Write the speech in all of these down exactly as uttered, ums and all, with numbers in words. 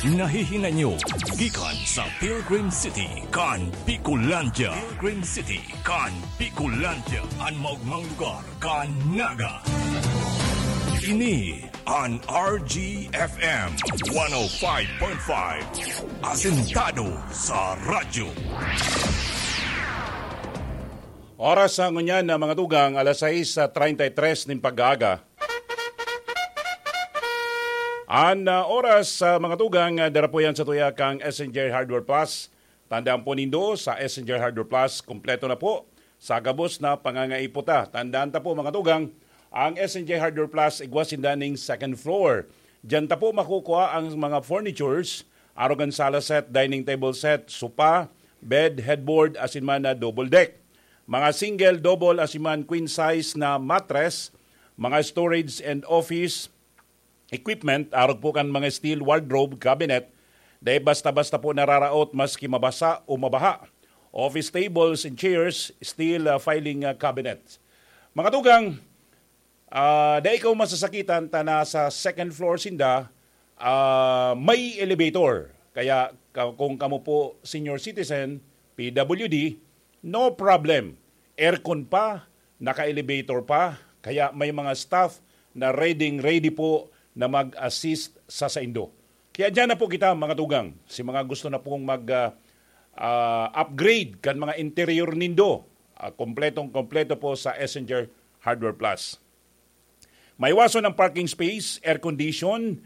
Nahihinanyo gikan sa Pilgrim City kan Bicolandia. Pilgrim City kan Bicolandia, an maogmang lugar kan Naga. Ini an R G F M one oh five point five, asentado sa radyo. Oras sa ngunyan na mga tugang, alas sais treinta y tres nin pag-aaga. An, ah, oras sa mga tugang, ah, dara po yan sa tuya kang S N J Hardware Plus. Tandaan po nindo, sa S N J Hardware Plus, kompleto na po sa gabos na pangangaipo ta. Tandaan ta po, mga tugang, ang S N J Hardware Plus, igwa sinda ning second floor. Diyan ta po makukuha ang mga furnitures, arog an sala set, dining table set, sopa, bed, headboard, asin man na double deck. Mga single, double, asin man queen size na mattress, mga storage and office equipment, arog po kan mga steel wardrobe, cabinet, dai basta-basta po nararaot maski mabasa o mabaha. Office tables and chairs, steel, ah, filing, ah, cabinet. Mga tugang, ah, dai kaw masasakitan ta nasa second floor sinda, ah, may elevator. Kaya ka-, kung kamo po senior citizen, P W D, no problem. Aircon pa, naka-elevator pa, kaya may mga staff na ready, ready po na mag-assist sa saindo. Kaya diyan na po kita, mga tugang, si mga gusto na pong mag, ah, ah, upgrade kan mga interior nindo, ah, kompletong-kompleto po sa S N J Hardware Plus. May waso ng parking space, air condition,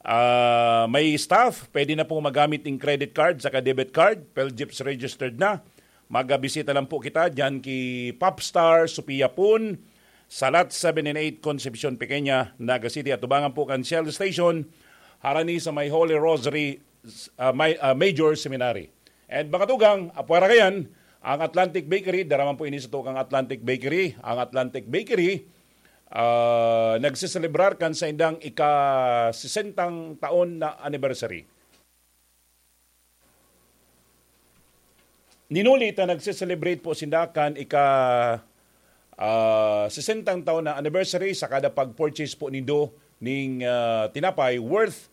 ah, may staff, pwede na pong magamit ng credit card saka debit card, Phelgip's registered na. Magbisita lang po kita diyan ki Popstar Sophia Pun, sa Lot seven and eight, Concepcion Pequeña, Naga City, atubangan po kan Shell Station, harani sa may Holy Rosary, ah, may, ah, Major Seminary. And mga tugang, apwera kayan, ang Atlantic Bakery, dara man po ini sa tukang Atlantic Bakery. Ang Atlantic Bakery, ah, nagseselebrar kan saindang ika-sesentang taon na anniversary. Ninuli ta nagse-celebrate po sinda kan ika, ah, sesentang taon na anniversary sa kada pag-purchase po nindo ning, ah, tinapay worth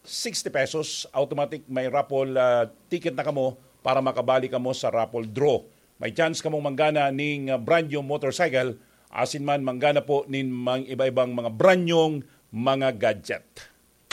sixty pesos, automatic may raffle, ah, ticket na kamo para makabali kamo sa raffle draw. May chance kamong manggana ning, ah, brand new motorcycle, asin man manggana po nin mga iba-ibang mga brand new mga gadget.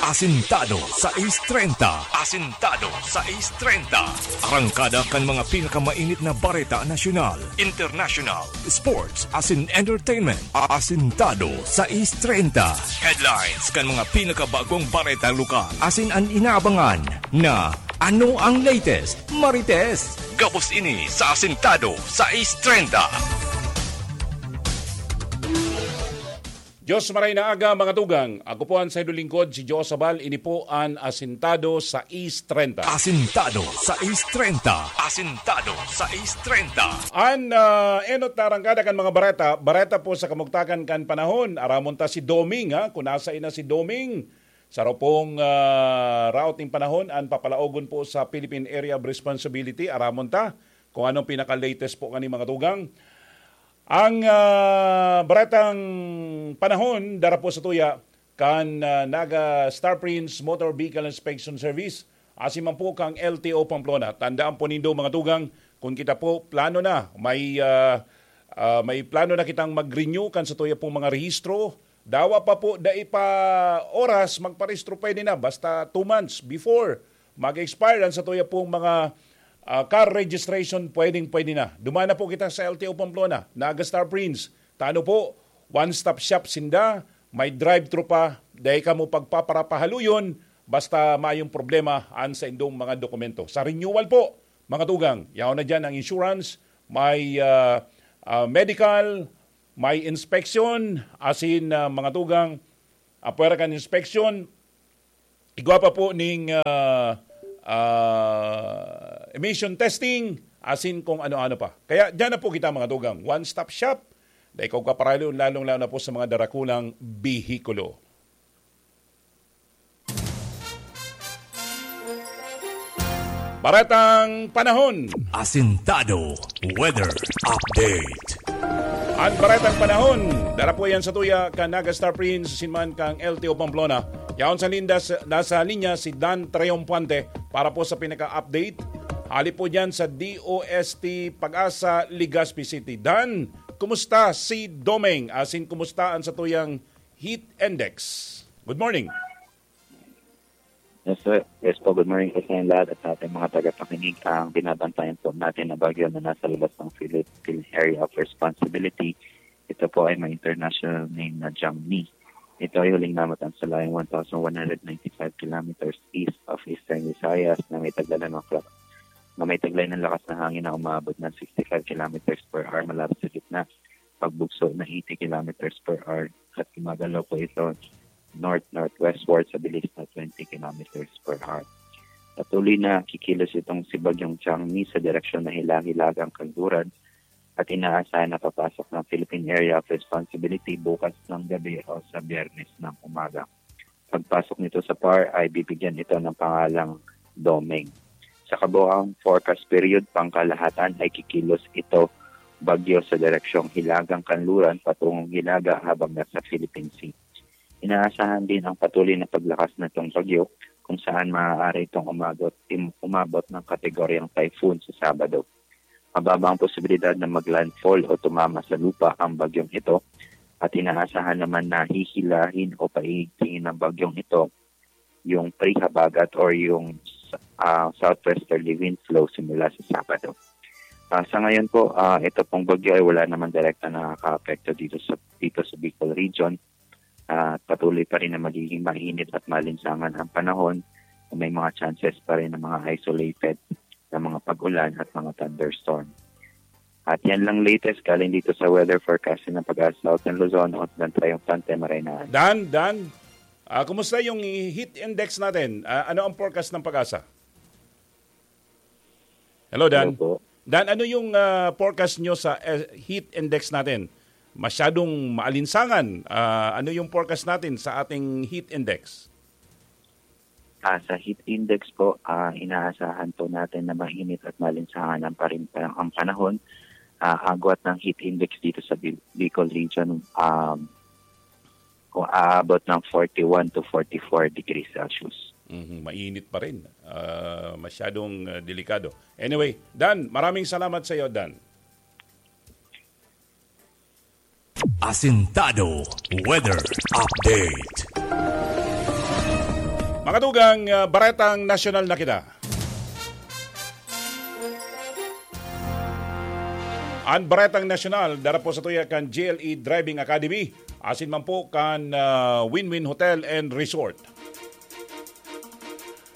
Asintado sais treinta. Asintado sais treinta. Arangkada kan mga pinakamainit na bareta nasyonal, international, sports, asin entertainment. Asintado sais treinta. Headlines kan mga pinakabagong bareta lokal. Asin an inaabangan na ano ang latest, Marites. Gabos ini sa Asintado sais treinta. Diyos maray na aga, mga tugang. Ako po an saindo lingkod, si Joe Sabal. Ini po an Asintado sais treinta. Asintado sais treinta. Asintado sais treinta. An, ah, enot na arangkada kan mga bareta, bareta po sa kamugtakan kan panahon. Aramon ta si Doming, ha? Kung nasa ina si Doming, sa ropong, ah, raot ning panahon, an papalaogon po sa Philippine Area of Responsibility. Aramon ta kung anong pinaka-latest po kani, mga tugang. Ang, ah, baretang panahon, dara po sa tuya kan, ah, Naga Star Prince Motor Vehicle Inspection Service, asin man po kang L T O Pamplona. Tandaan po nindo, mga tugang, kung kita po plano na, may, ah, ah, may plano na kitang mag-renew kan sa tuya pong mga rehistro, dawa pa po, dai pa oras, magparehistro pwede na, basta two months before mag-expire ang sa tuya pong mga, ah, car registration, pwedeng-pwede na. Duman na po kita sa L T O Pamplona, Naga Star Prince. Tano po, one-stop shop sinda, may drive-thru pa, dai kamo pagpaparapahaluyon, basta mayong problema an saindong mga dokumento. Sa renewal po, mga tugang, yaon na diyan ang insurance, may, ah, ah, medical, may inspection, asin, ah, mga tugang, apwera kan inspection, igwa pa po ning, ah, ah, emission testing, asin kung ano-ano pa. Kaya diyan na po kita, mga tugang. One-stop shop. Dai kaw kaparaliw, lalong-lalo na po sa mga darakulang behikulo. Baretang panahon. Asintado Weather Update. Ang baretang panahon, dara po yan sa tuya kan Naga Star Prince, asin man kang L T O Pamplona. Yaon sa lindas, nasa linya si Dan Triumphante para po sa pinaka-update. Hali po dyan sa D O S T Pag-asa, Legazpi City. Dan, kumusta si Domeng? Asin, kumusta ang satuyang heat index? Good morning. Yes, sir. Yes po, good morning po sa inyong lahat at sa ating mga tagapakinig. Ang binabantayan po natin na bagyo na nasa labas ng Philippine Area of Responsibility, ito po ay may international name na Jangmi. Ito ay huling namatan sa layong one thousand one hundred ninety-five kilometers east of Eastern Visayas na may taglalan ng kla- na may taglay ng lakas na hangin na umaabot ng sixty-five kilometers per hour mula sa gitna, pagbugso na eighty kilometers per hour, at gumagalaw po ito north-northwestward sa bilis na twenty kilometers per hour. Patuloy na kikilos itong si Bagyong Changmi sa direksyon na hilahilagang kanluran at inaasahan na papasok ng Philippine Area of Responsibility bukas ng gabi o sa Biyernes ng umaga. Pagpasok nito sa PAR ay bibigyan ito ng pangalang Domeng. Sa kabuang forecast period, pangkalahatan ay kikilos ito bagyo sa direksyong hilagang kanluran patungong hilaga habang nasa Philippine Sea. Inaasahan din ang patuloy na paglakas nitong bagyo kung saan maaari itong umabot, im- umabot ng kategoryang typhoon sa Sabado. Mababa ang posibilidad na mag-landfall o tumama sa lupa ang bagyong ito at inaasahan naman na hihilahin o paigtingin ng bagyong ito yung pre-habagat or yung ah, southwesterly wind flow simula sa Sabado. Ah, sa ngayon po, ah, ito pong bagyo ay wala naman direkta nakakaapekto dito sa dito sa Bicol region. Ah, patuloy pa rin na magiging mainit at malinsangan ang panahon. May mga chances pa rin ng mga isolated na mga pag-ulan at mga thunderstorm. At yan lang latest galing dito sa weather forecasting ng Pag-asa Southern Luzon, ako si Dan Triumphante, Marinaan. Dan, Dan, ah, kumusta yung heat index natin? Ah, ano ang forecast ng Pag-asa? Hello, Dan. Hello po. Dan, ano yung ah, forecast nyo sa eh, heat index natin? Masyadong maalinsangan. Ah, ano yung forecast natin sa ating heat index? Ah, sa heat index po, ah, inaasahan po natin na mainit at malinsangan ang, parin, ang panahon. Ah, agwat ng heat index dito sa Bi- Bicol region, um, kung aabot ng forty-one to forty-four degrees Celsius. Mhm, mainit pa rin. Ah, masyadong ah, delikado. Anyway, Dan, maraming salamat sa iyo, Dan. Asintado Weather Update. Mga tugang, ah, baretang nasyonal na kita. An baretang nasyonal, dara po sa tuya kan G L E Driving Academy, asin man po kan ah, Win-Win Hotel and Resort.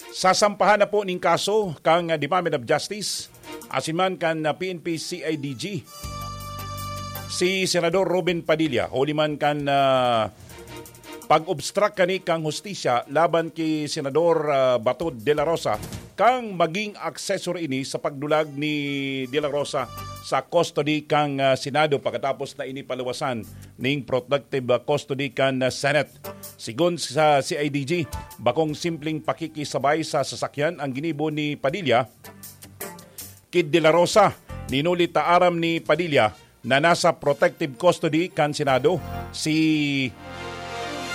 Sasampahan na po ning kaso kan Department of Justice asin man kan P N P C I D G si Senador Robin Padilla, huli man kan ah, pag-obstruct kani kan hustisya laban ki Senador ah, Bato de la Rosa, kan magin accessory ini sa pagdulag ni de la Rosa sa custody kan ah, Senado pakatapos na ini paluwasan ning protective ah, custody kan ah, Senate. Sigon sa C I D G, bakong simpleng pakikisabay sa sasakyan ang ginibo ni Padilla ki de la Rosa. Ninuli ta aram ni Padilla na nasa protective custody kan Senado si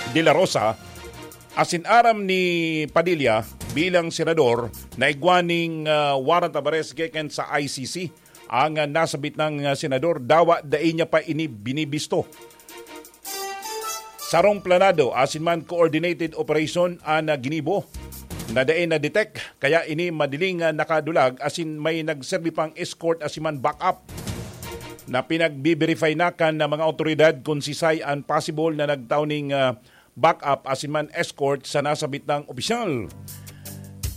de la Rosa, asin aram ni Padilla bilang senador na igwa ning ah, warrant of arrest gikan sa I C C ang ah, nasabit nang ah, senador, dawa dai niya pa ini binibisto. Sarong planado asin man coordinated operation an ah, ginibo na dai na-detect, kaya ini madiling ah, nakadulag asin may nagserbi pang escort asin man backup na pinagbe-verify na kan ah, mga awtoridad kun sisay an possible na nagtao ning ah, backup asin man escort sa nasabit nang opisyal.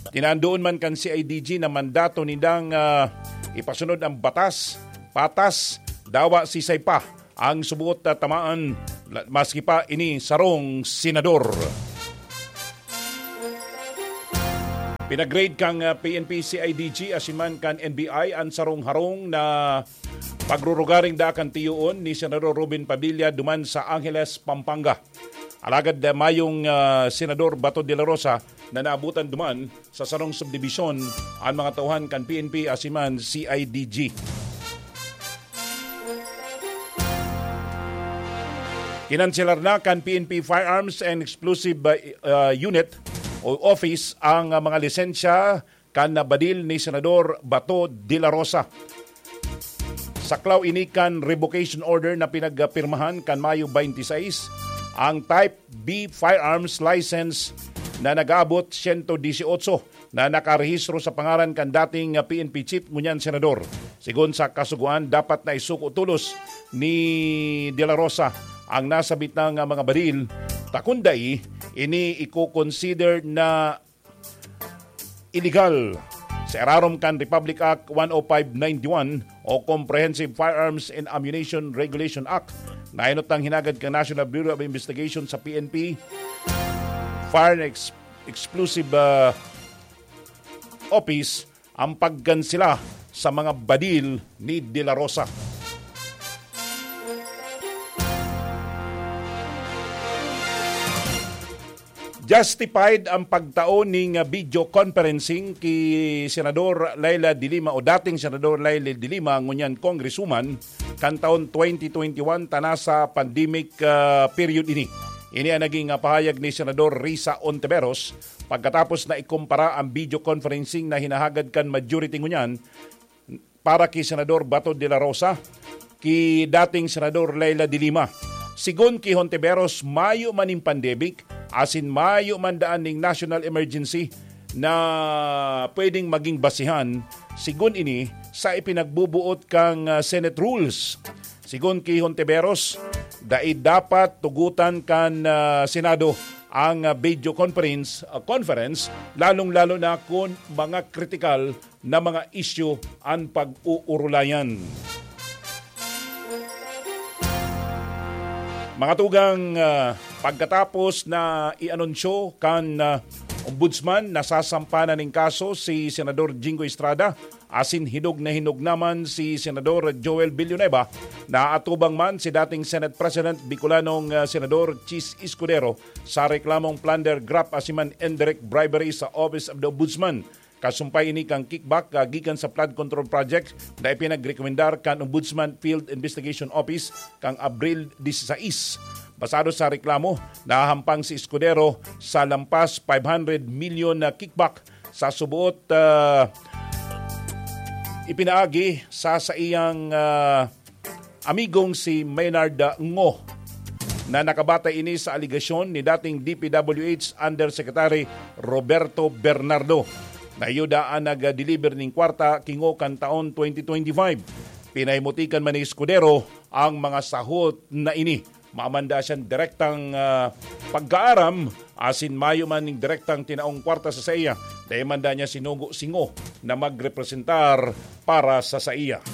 Tinandoon man kan C I D G na mandato nindang ah, ipasunod ang batas, patas, dawa sisay pa ang subot na tamaan, la- maski pa ini sarong senador. Pinagrade kang ah, P N P C I D G asin man kan N B I an sarong harong na pagrurugaring daa kan tiyoon ni Senador Robin Padilla duman sa Angeles, Pampanga. Alagad ah, mayong ah, Senador Bato de la Rosa na naabutan duman sa sarong subdibisyon an mga tauhan kan P N P asin man C I D G. Kinanselar na kan P N P Firearms and Explosive uh, uh, Unit o Office ang uh, mga lisensya kan uh, badil ni Senador Bato de la Rosa. Saklaw ini kan revocation order na pinagpirmahan kan Mayo twenty-six, ang Type B firearms license na nag-aabot siyento disyotso na nakarehistro sa pangaran kan dating P N P chief ngunyan senador. Sigon sa Kasugoan, dapat na isuko tolos ni De La Rosa ang nasabit na nga mga baril, ta kun dai, ini iko-consider na illegal sa irarom kan Republic Act one oh five ninety-one o Comprehensive Firearms and Ammunition Regulation Act na inutang hinagad kan National Bureau of Investigation sa P N P, Fire and Ex- Explosive uh, Office ang pagkansela sa mga badil ni De La Rosa. Justified ang pagtao ning video conferencing ki Senador Leila de Lima o dating Senador Leila de Lima, ngunyan Congresswoman, kan taon twenty twenty-one ta nasa pandemic ah, period ini. Ini ang naging ah, pahayag ni Senador Risa Ontiveros pagkatapos na ikumpara ang video conferencing na hinahagad kan majority ngunyan para ki Senador Bato de la Rosa ki dating Senador Leila de Lima. Sigon ki Hontiveros, mayo man nin pandemic, asin mayo man daan ning national emergency na pwedeng maging basihan, sigon ini, sa ipinagbubuot kan ah, Senate rules. Sigon ki Hontiveros, dai dapat tugutan kan ah, Senado ang ah, video conference, ah, conference, lalong-lalo na kun mga kritikal na mga isyu an pag-uurulayan. Mga tugang, ah, pagkatapos na ianunsyo kan ah, Ombudsman, nasasampa na nin kaso si Senador Jinggoy Estrada asin hinog na hinog naman si Senador Joel Villanueva, naatubang man si dating Senate President Bicolanong ah, Senador Chiz Escudero sa reklamong plunder, graft asin man indirect bribery sa Office of the Ombudsman. Kasumpay ini kan kickback ah, gikan sa flood control project na ipinagrekomendar kan Ombudsman Field Investigation Office kan Abril disisais. Basado sa reklamo, nahahampang si Escudero sa lampas five hundred milyon na kickback sa suboot ah, ipinaagi sa saiyang ah, amigong si Maynard Ngo, na nakabatay ini sa alegasyon ni dating D P W H Undersecretary Roberto Bernardo, na iyo daa nag-deliver nin kwarta ki Ngo kan taon twenty twenty-five. Pinahimutikan man ni Escudero ang mga sahot na ini. Mayo man daa siyang direktang ah, pagkaaram, asin mayo man ning direktang tinaong kwarta sa saiya, dai man daa niya sinugo si Ngo na magrepresentar para sa saiya.